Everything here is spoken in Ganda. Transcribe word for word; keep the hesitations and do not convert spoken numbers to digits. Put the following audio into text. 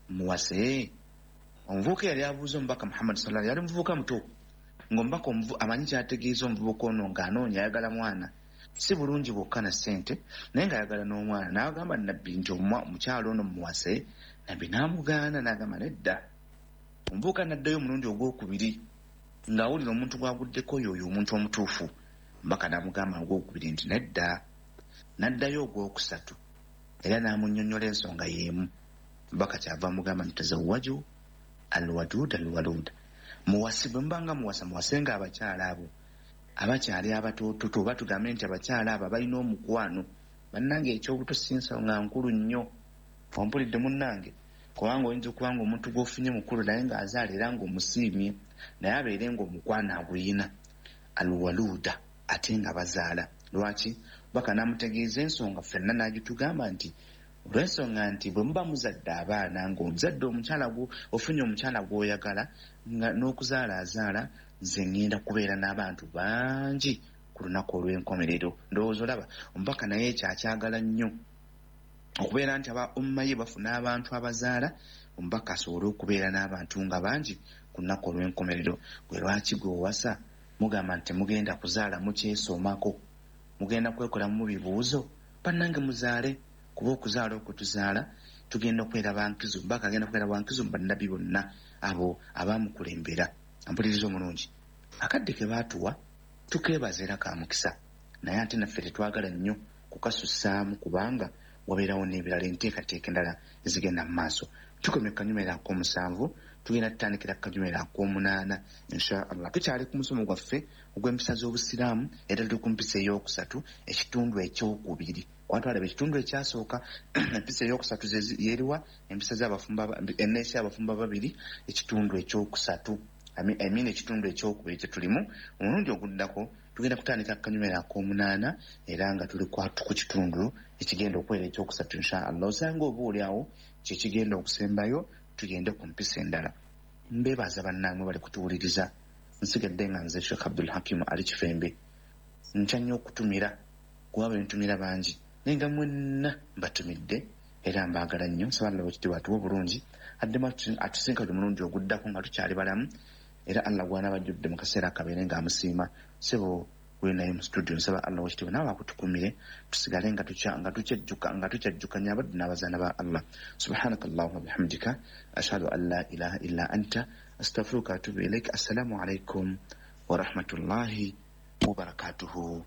Muwase? Omuvubuka yali abuuza omubaka Muhammad sallallahu alaihi, yali muvubuka muto, ng'omubaka amanyi kyategeeza omuvubuka ono ng'anoonya ayagala mwana, si bulungi bwokka na ssente, naye ng'ayagala n'omwana. N'agamba nabbi nti omukyala ono muwase. Nabbi n'amugaana, n'agamba nedda. Omuvubuka n'addayo omulundi ogwokubiri ng'awulira omuntu gw'aguddeko y'oyo omuntu omutuufu. Omubaka n'amugamba ogwokubiri nti nedda. N'addayo ogwokusatu era n'amunnyonnyola ensonga y'emu. Omubaka kyava amugamba nti tazawwaju alwaduud alwaluud, muwase. Bwe mubanga muwasa, muwasenga abakyala abo abakyali abatoototo, oba tugambe nti abakyala abo abalina omukwano. Bannange, ekyobuto si nsonga nkulu nnyo, ompulidde munnange? Kubanga oyinza okuba nga omuntu gw'ofunye mukulu naye ng'azaala era ng'omusiimye, naye abeere ng'omukwano aguyina, alwaluuda, ate nga bazaala. Lwaki baka n'amutegeeza ensonga ffenna n'agitugamba nti olw'ensonga nti bwe muba muzadde abaana, ng'ozadde omukyala ofunye omukyala gw'oyagala nga n'okuzaala azaala, nze ŋŋenda kubeera n'abantu bangi ku lunaku olw'enkomerero. Ndowooza olaba omubaka naye ekyo akyagala nnyo, okubeera nti aba umma ye bafuna abantu abazaala, omubaka asobole okubeera n'abantu nga bangi ku lunaku olw'enkomerero. Gwe lwaki gwe owasa mugamba nti temugenda kuzaala, mukyesomako, mugenda kwekolamu bibuuzo? Bannange, muzaale, kuba okuzaala okwo tuzaala tugenda okubeera bankizo, omubaka agenda kubeera bankizo mu bannabbi bonna abo abamukulembera. Ampuliriza omulungi, akadde ke baatuwa tukeebaza era ka mukisa, naye ate naffe tetwagala nnyo kukasussaamu, kubanga wabeerawo n'ebirala, enteekateeka endala ezigenda mu maaso. Tukomye kanyumero ak'omusanvu, tugenda tutandikira kanyumero ak'omunaana insha Allah. Tukyali ku musomo gwaffe ogw'empisa z'obusiraamu, era tuli ku mpisa ey'okusatu, ekitundu ekyokubiri. Kuba twalaba ekitundu ekyasooka, empisa eyokusatu yeriwa? Empisa z'abafumbo, enneesi y'abafumbo babiri, ekitundu ekyokusatu, I mean ekitundu ekyokubiri kye tulimu. Omulundi oguddako tugenda kutandika kanyumero ak'omunaana, era nga tuli ku kitundu ekigenda okubeera ekyokusatu insha Allah. Osanga oba oli awo kyekigenda okusembayo, tugende ku mpisa endala. Mbeebaza bannange bali kutuwuliriza. Nsigadde nga nze Sheekh Abdul Hakimu Ali Kifembe. Ntya nnyo okutumira, kuba bwe ntumira bangi, naye nga mwenna mbatumidde era mbaagala nnyo. Nsaba Allah wekitiibwa atuwa obulungi, addemu atusinkanye omulundi oguddako nga tukyali balamu, era Allah gw'anaabajjudde mu kaseera akabeere ng'amusiima. Sebo gwe naye mu studio, nsaba Allah wekitiibwa naawe akutukumire, tusigale nga tukyajjuka nga tukyajjukanya abaddu n'abazaana ba Allah. Subhanaka Allahuma bihamdika, ashhadu an la ilaha illa anta, astaghfiruka atubu ilaik. Assalamu alaikum warahmatullahi wabarakatuhu.